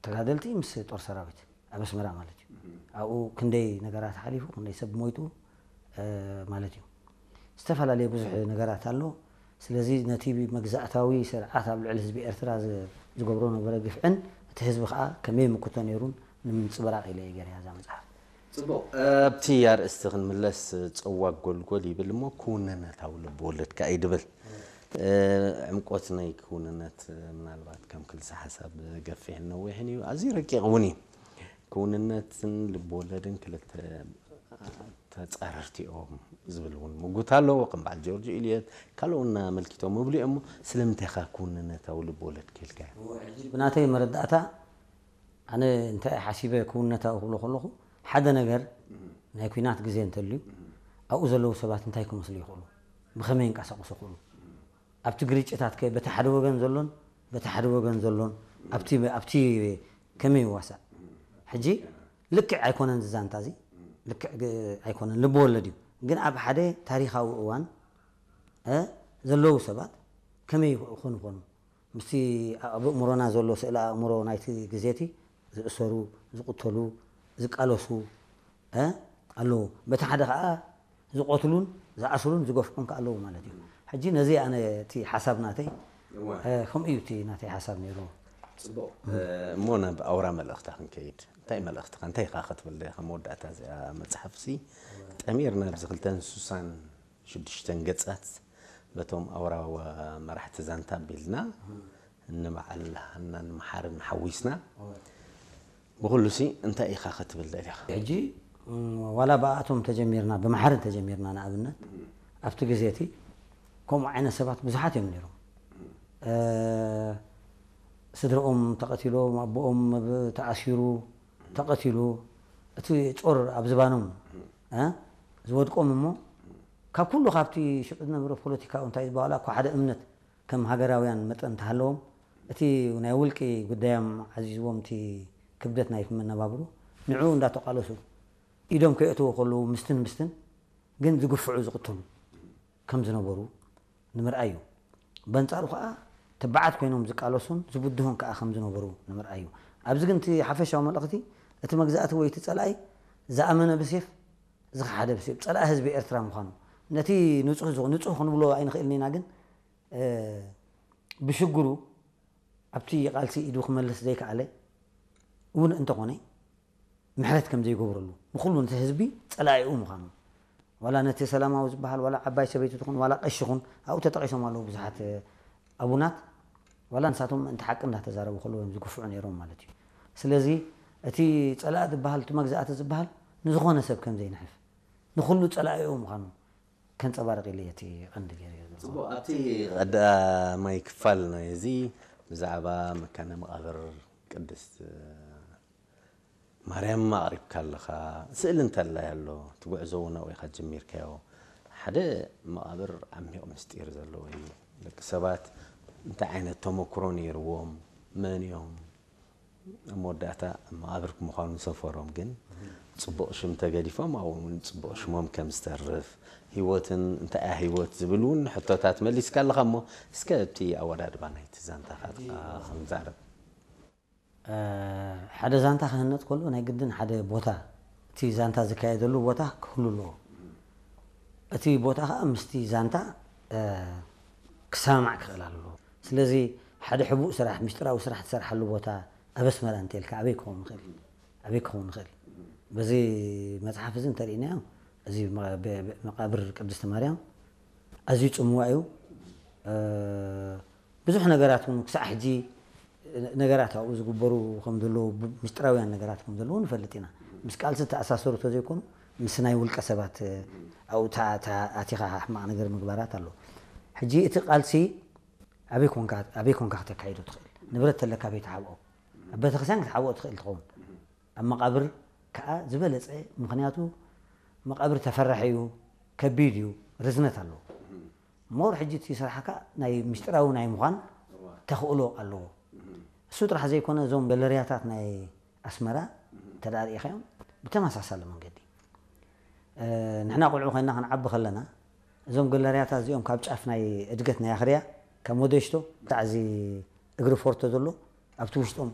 ተጋደልቲ ምስ ጦር ሰራዊት ኣብ ኣስመራ ማለት እዩ። ኣብኡ ክንደይ ነገራት ሓሊፉ፣ ክንደይ ሰብ ሞይቱ ማለት እዩ። ዝተፈላለየ ብዙሕ ነገራት ኣሎ። ስለዚ ነቲ መግዛእታዊ ስርዓት ኣብ ልዕሊ ህዝቢ ኤርትራ ዝገብሮ ነበረ ግፍዕን እቲ ህዝቢ ከዓ ከመይ ምክቶ ነይሩን ንምንፅብራቕ ኢለ እየ ገይረያ እዛ መፅሓፍ። ፅቡቕ። ኣብቲ ኣርእስቲ ክንምለስ፣ ፀዋግ ጎልጎል ይብል እሞ ክውንነታዊ ልብወለድ ከኣ እዩ ድብል። ዕምቆት ናይ ክውንነት ምናልባት ከም ክልሰ ሓሳብ ገፊሕን ነዊሕን እዩ። ኣዝዩ ረቂቕ እውን እዩ። ክውንነትን ልብወለድን ክልተ ተፃረርቲ እዮም ዝብል እውን ምጉት ኣለዎ። ከም በዓል ጆርጅ ኢልየት ካልኦና ኣመልኪቶም ምብሉ እዮም። ስለምንታይ ኻ ክውንነታዊ ልብወለድ ክኢልካዮ? ብናተይ መረዳእታ ኣነ እንታይ ሓሲበ ክውንነታዊ ክብሎ ከለኹ ሓደ ነገር ናይ ኲናት ግዜ እንተልዩ ኣብኡ ዘለዉ ሰባት እንታይ ክመስሉ ይኽእሉ፣ ብኸመይ ይንቀሳቐሱ ይኽእሉ፣ ኣብቲ ግርጭታት ከ በቲ ሓደ ወገን ዘሎን በቲ ሓደ ወገን ዘሎን ኣብቲ ኣብቲ ከመይ ይዋሳእ? ሕጂ ልክዕ ኣይኮነን ዝዛንታ እዚ ልክዕ ግ- ኣይኮነን ልቢ ወለድ እዩ። ግን ኣብ ሓደ ታሪኻዊ እዋን እ ዘለዉ ሰባት ከመይ ይኾኑ ይኾኑ? ምስቲ ኣብ ኣእምሮና ዘሎ ስእለ ኣእምሮ ናይቲ ግዜ እቲ ዝእሰሩ፣ ዝቕተሉ፣ ዝቃለሱ እ ኣለዉ። በቲ ሓደ ከዓ ዝቐትሉን ዝኣስሩን ዝገፍዑን ከ ኣለዉ ማለት እዩ። ሕጂ ነዚ ኣነ እቲ ሓሳብ ናተይ እወ። እ፣ ከምኡ እዩ እቲ ናተይ ሓሳብ ነይሩ። ፅቡቕ። እሞ ናብ ኣውራ መልእኽታ ክንከይድ፣ እንታይ መልእኽትኻ እንታይ ኢኻ ክትብል ዲኻ? መወዳእታ እዚኣ መፅሓፍ ሲ ጠሚርና ኣብዚ ክልተን ስሳን ሽዱሽተን ገፃት በቶም ኣውራ መራሕቲ ዛንታ ኣቢልና ንበዓል ሃናን መሓርን ሓዊስና ብኩሉ ሲ እንታይ ኢኻ ክትብል ደሊኻ? ሕጂ እም፣ ዋላ ብኣቶም ተጀሚርና ብመሓርን ተጀሚርና ንኣብነት ኣብቲ ግዜ እቲ ከምኡ ዓይነት ሰባት ብዙሓት እዮም ነይሮም። እ፣ ስድርኦም ተቐቲሎም፣ ኣቦኦም ብ- ተኣሲሩ ተቐቲሉ፣ እቲ ጾር ኣብ ዝባኖም እ፣ ዝወድቆም እሞ ካብ ኩሉ ካብቲ ሽዑ ዝነበረ ፖለቲካዊ እንታይ ዝበሃላ እኳ ሓደ እምነት ከም ሃገራውያን መጠን እንተሃለዎም እቲ ናይ ውልቂ ጉዳዮም ዓዚዝዎም እቲ ክብደት ናይ መነባብሮ ንዕኡ እንዳተቓለሱ ኢዶም ከየእትዎ ከለዉ ምስትን ምስትን ግን ዝግፍዑ ዝቕተሉ ከም ዝነበሩ ንምርኣይ እዩ። በንጻሩ ከኣ ትብዓት ኮይኖም ዝቃለሱን ዝብድሁን ከኣ ከም ዝነበሩ ንምርኣይ እዩ። ኣብዚ ግን እቲ ሓፈሻዊ መልእኽቲ እቲ መግዛእቲ ወይ እቲ ጸላኢ ዝኣመነ ብሴፍ ዝኸሓደ ብሴፍ ጸላኢ ህዝቢ ኤርትራ ምዃኑ ነቲ ንጹህ ዝኾ- ንጹህ ክንብሎ ኣይንኽእልን ኢና ግን እ፣ ብሽግሩ ኣብቲ ቃልሲ ኢዱ ክመልስ ዘይከኣለ እውን እንተኾነ ምሕረት ከም ዘይገብረሉ ንኩሉ ነቲ ህዝቢ ጸላኢኡ ምዃኑ ዋላ ነቲ ሰላማዊ ዝበሃል ዋላ ዓባይ ሰበይቲ ትኹን ዋላ ቀሺ ኹን ኣብኡ ተጠቒሶም ኣለዉ ብዙሓት ኣቡናት ዋላ ንሳቶም ምእንቲ ሓቂ እንዳተዛረቡ ከለዉ እዮም ዝግፍዑ ነይሮም ማለት እዩ። ስለዚ እቲ ጸላኢ ዝበሃል እቲ መግዛእቲ ዝበሃል ንዝኾነ ሰብ ከም ዘይንሕፍ ንኩሉ ጸላኢኡ ምዃኑ ከንጸባርቕ ኢለ እቲ ቀንዲ ገይረ ጽቡቕ ኣብቲ ቀዳማይ ክፋል ናይ እዚ ብዛዕባ መካነ መቓብር ቅድስት ማርያም ኣቕሪብካ ኣለኻ። ስእሊ እንተላይ ኣሎ እቲ ጉዕዞ እውን ኣብኡ ኢኻ ጀሚርካዮ። ሓደ መቓብር ዓሚቕ ምስጢር ዘለዎ እዩ። ደቂ ሰባት እንታይ ዓይነት ተመክሮ ነይርዎም፣ መን እዮም፣ ኣብ መወዳእታ መቓብር ምዃኑ ሰፈሮም ግን ጽቡቕ ሽም ተገዲፎም ኣብኡ እውን ጽቡቕ ሽሞም ከም ዝተርፍ ህይወትን እንታይ እያ ህይወት ዝብል እውን ሕቶታት መሊስካ ኣለኻ እሞ እስከ እቲ ኣወዳድባ ናይቲ ዛንታ ፋጥካ ክንዛረብ ሓደ ዛንታ ክህነጥ ከሎ ናይ ግድን ሓደ ቦታ እቲ ዛንታ ዝካየደሉ ቦታ ክህሉ ኣለዎ እቲ ቦታ ከዓ ምስቲ ዛንታ ክሰማማዕ ክኽእል ኣለዎ ስለዚ ሓደ ሕቡእ ስራሕ ምስጢራዊ ስራሕ ትሰርሓሉ ቦታ ኣብ ኣስመራ እንተልካ ኣበይ ክኸውን ይኽእል ኣበይ ክኸውን ይኽእል በዚ መፅሓፍ እዚ እንተርኢናዮ እዚ መቃብር ቅድስቲ ማርያም ኣዝዩ ፅምዋ እዩ ብዙሕ ነገራት እውን ክሳዕ ሕጂ ነገራት ኣብኡ ዝግበሩ ከም ዘለዉ ምስጢራውያን ነገራት ከም ዘለዉ ንፈልጥ ኢና ምስ ቃልሲ ተኣሳሰሩ ተዘይኮኑ ምስ ናይ ውልቀ ሰባት ኣብኡ ኣቲኻ ሕማቕ ነገር ምግባራት ኣሎ ሕጂ እቲ ቃልሲ ኣበይ ኮንካ ኣበይ ኮንካ ክተካይዶ ትኽእል ንብረት ተለካ ኣበይ ትሓብኦ ኣብ ቤተክርስትያን ክትሓብኦ ትኽእል ትኸውን ኣብ መቃብር ከዓ ዝበለፀ ምክንያቱ መቃብር ተፈራሒ እዩ ከቢድ እዩ ርዝነት ኣለዎ ሞር ሕጂ እቲ ስራሕካ ናይ ምስጢራዊ ናይ ምዃን ተኽእሎ ኣለዎ እሱ ጥራሕ ዘይኮነ እዞም ገለርያታት ናይ ኣስመራ እንተ ርኢኻዮም ብተመሳሳሊ መንገዲ ንሕና ቆልዑ ኮይና ክንዓቢ ከለና እዞም ገለርያታት እዚኦም ካብ ጫፍ ናይ እድገት ናይ ኣኽርያ ካብ ሞደሽቶ ክሳዕ እዚ እግሪ ፎርቶ ዘሎ ኣብቲ ውሽጦም